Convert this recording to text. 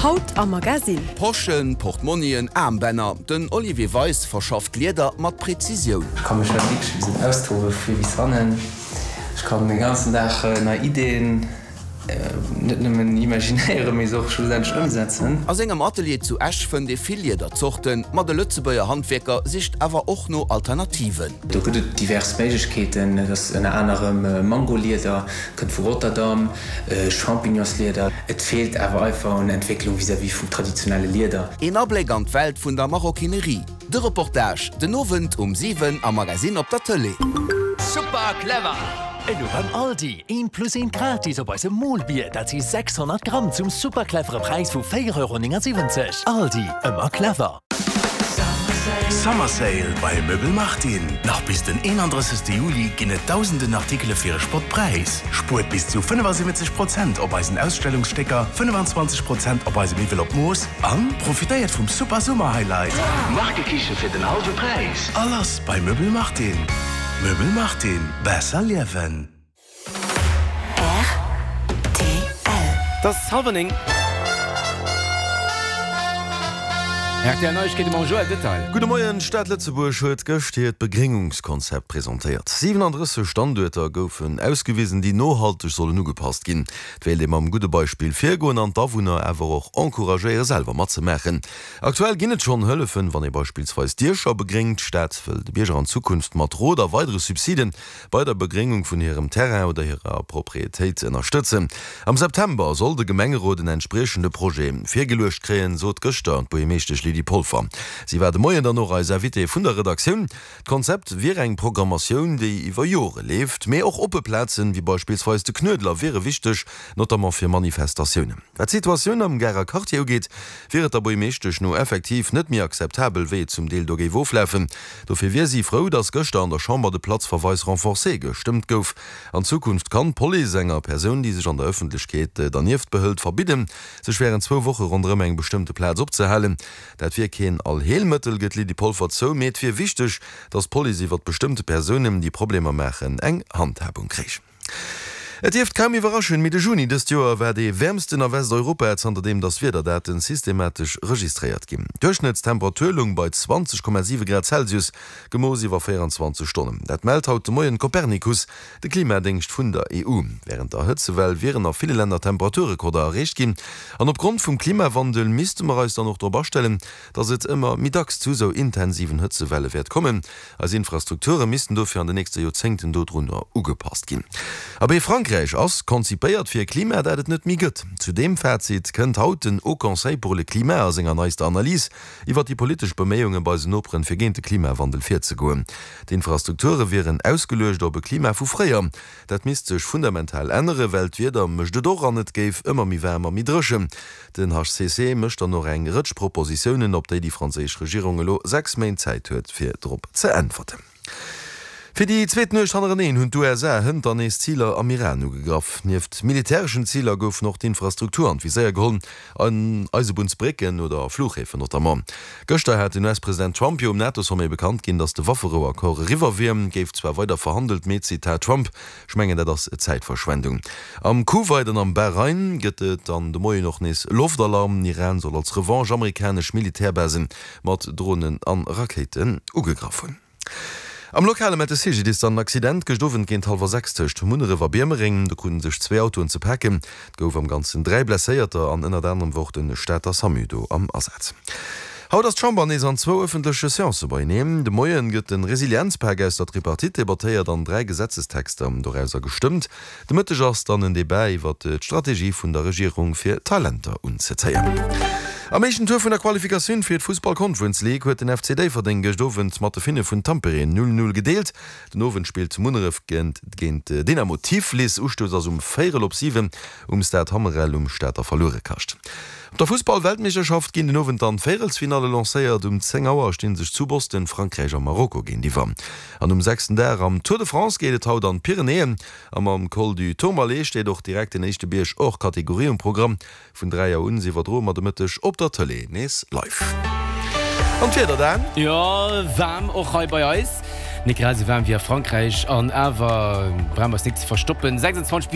Haut am Magasinn. Poschen, Portmonnien, Aarmbänner, den Olivier Weis verschafft Lieder mat Präzisioun. Ech ka mech hei wierklech e bëssen austobe vu vir bis hannen. Ech kann de ganzen Dag nei Ideen net nëmmen imaginéieren, mee se och schlussendlech ëmsetzen. A sengem Atelier zu Esch fënnt ee vill Liederzorten, ma de Lëtzebuerger Handwierker sicht awer och no Alternativen. Do gëtt et divers Méiglechkeeten. Et ass ënner anerem Mangolieder, kënnt vu Rotterdam, Champignonslieder. Et feelt awer einfach un Entwécklung vis-à-vis vum traditionelle Lieder. Een Abléck an d'Welt vun der Maroquinerie. De Reportage den Owend um 7 am Magasinn op der Tëlee. Super clever! Elo beim Aldi, eent plus eent gratis op eisem Molbier, dat si 600 Gramm zum super clevere Präis vu 4,79 Euro. Aldi, ëmmer clever! Summer Sale bei Möbel Martin! Nach bis den 31. Juli ginn et dausenden Artikele fir e Spottpräis. Spuert bis zu 75 Prozent op eisen Ausstellungsstécker, 25 Prozent op eise Miwwel op Mooss an profitéiert vum super Summer Highlight! Markekiche fir den hallwe Präis! A lass bei Möbel Martin! Möbel Martin, besser liewen! Rtl. Et ass hallwer 9. Rtl Neiegkeete mam Joël Detail. Gudde Moien, D'Stad Lëtzebuerg huet gëscht hiert Begréngungskonzept presentéiert. 37 Standuerter goufen ausgewisen, déi nohalteg sollen ugepasst ginn. Et wéilt ee mam gudde Beispill virgoen an d'Awunner awer och encouragéiere selwer matzemaachen. Aktuell ginn et schonn Hëllefen, wann ee beispillsweis Diecher begréngt. D'Stad wëll de Bierger an Zukunft mat Rot a weidere Subsiden bei der Begréngung vun hirem Terrain oder hirer Proprietéit ënnerstëtzen. Am September soll de Gemengerot en entspriechende Projet virgeluecht kréien, sot gëschter d'Buergermeeschtesch Lydie Polfer. Si war de Moien dann och eis Invitée vun der Redaktioun. D'Konzept wier eng Programmatioun, déi iwwer Jore leeft, mee och oppe Plazen, wéi beispillsweis de Knuedler, wiere wichteg, notamment fir Manifestatiounen. Wat d'Situatioun am Garer Quartier ugeet, wier et der Buergermeeschtesch no effektiv net méi akzeptabel, wéi et zum Deel do géif oflafen. Dofir wier si frou, datt gëschter an der Chamber de Platzverweis renforcé gestëmmt gouf. An Zukunft kann d'Police enger Persoun, déi sech an der Ëffentlechkeet dernieft behëlt, verbidden, sech wärend zwou Woche ronderëm eng bestëmmte Plaz opzehalen. Dat wier keen Allheelmëttel, gëtt d'Lydie Polfer zou, mee et wier wichteg, datt d'Police iwwert bestëmmte Persounen, déi Problemer maachen, eng Handhabung kréich. Et dierft kaum iwwerraschen, mee de Juni dëst Joer war dee wäermsten a Westeuropa, zanterdeem datt Wiederdaten systematesch registréiert ginn. D'Duerchschnëttstemperatur loung bei 20,7 Grad Celsius, gemooss iwwer 24 Stonnen. Dat mellt haut de Moien Copernicus, de Klimadéngscht vun der EU. Wärend der Hëtzewell wieren a ville Länner Temperaturrekorder erreecht ginn. An opgrond vum Klimawandel misste mer eis dann och drop astellen, datt et ëmmer méi dacks zu esou intensiven Hëtzewelle wäert kommen. Eis Infrastrukture missten dofir an de nächste Joerzéngten dodrunner ugepasst ginn. Abee, Frankräich ass konzipéiert fir e Klima, dat et net méi gëtt. Zu deem Fazit kënnt haut den Haut Conseil pour le Climat a senger neister Analys iwwer déi politesch Beméiunge bei eisen Noperen, fir géint de Klimawandel virzegoen. D'Infrastrukture wieren ausgeluecht op e Klima vu fréier. Dat misst sech fundamental ännere, well d'Wieder mécht et och an et géif ëmmer méi waarm a méi dréchen. Den HCC mécht dann och eng Rëtsch Propositiounen, op déi déi franséisch Regierung elo 6 Méint Zäit huet, fir drop ze äntwerten. Fir déi zweet Nuecht hannereneen hunn d'USA hënt dann nees Ziler am Iran ugegraff. Nieft militäreschen Ziler goufen och d'Infrastruktur an d'Viséier geholl, Eisebunnsbrécken oder Fluchhäfen notamment. Gëschter hat den US-President Trump jo um NATO-Sommet bekannt ginn, datt de Wafferou-Accord eriwwer wier. Géif zwar weider verhandelt, mee, Zitat Trump, Ech mengen, dat ass Zäitverschwendung. Am Kuwait an am Bahrain gëtt et dann de Moien och nees Loftalarm. Iran soll als Revanche amerikanesch Militärbasen mat Dronen an Rakéiten ugegraff hunn. Am Lokale mellt de CGDIS dann en Accident gëscht Owend géint hallwer 6 tëscht Munneref a Biermereng. Do kruten sech zwee Autoen ze paken. Et gouf am Ganzen 3 Blesséierter an ënnert anerem wor och de Stater Samu do am Asaz. Haut ass d'Chamber nees an zwou ëffentleche Seancë beieneen. De Moien gëtt de Resilienzpak aus der Tripartite debattéiert an 3 Gesetzestexter dorauser gestëmmt. De Mëtteg ass dann en Debat iwwer d'Strategie vun der Regierung fir Talenter unzezéien. Am éischten Tour vun der Qualifikatioun fir d'Fussball Conference League huet den FC Déifferdeng gëscht Owend mat de Finne vun Tampere 0, 0 gedeelt. Den Owend spillt Munneref géint Dynamo Tiflis. Ustouss ass um véierel op 7 um Stade Hammerel um Stater Verluerekascht. Op der Fussball-Weltmeeschterschaft ginn den Owend dann d'Véierelsfinalle lancéiert. Um 10 Auer sti sech zu Boston Frankräich a Marokko géintiwwer. An um sechsten Dag am Tour de France geet et haut an d'Pyrenäen. A mam Col du Tourmalet steet och direkt den éischte Bierg hors Catégorie um Programm. Vun 3 Auer un iwwerdroe mer de Mëtteg op der Tëlee nees live. An d'Wieder dann? Jo, waarm och hei bei eis. Net grad esou waarm wéi a Frankräich an awer brauche mer eis nik ze verstoppen. 26.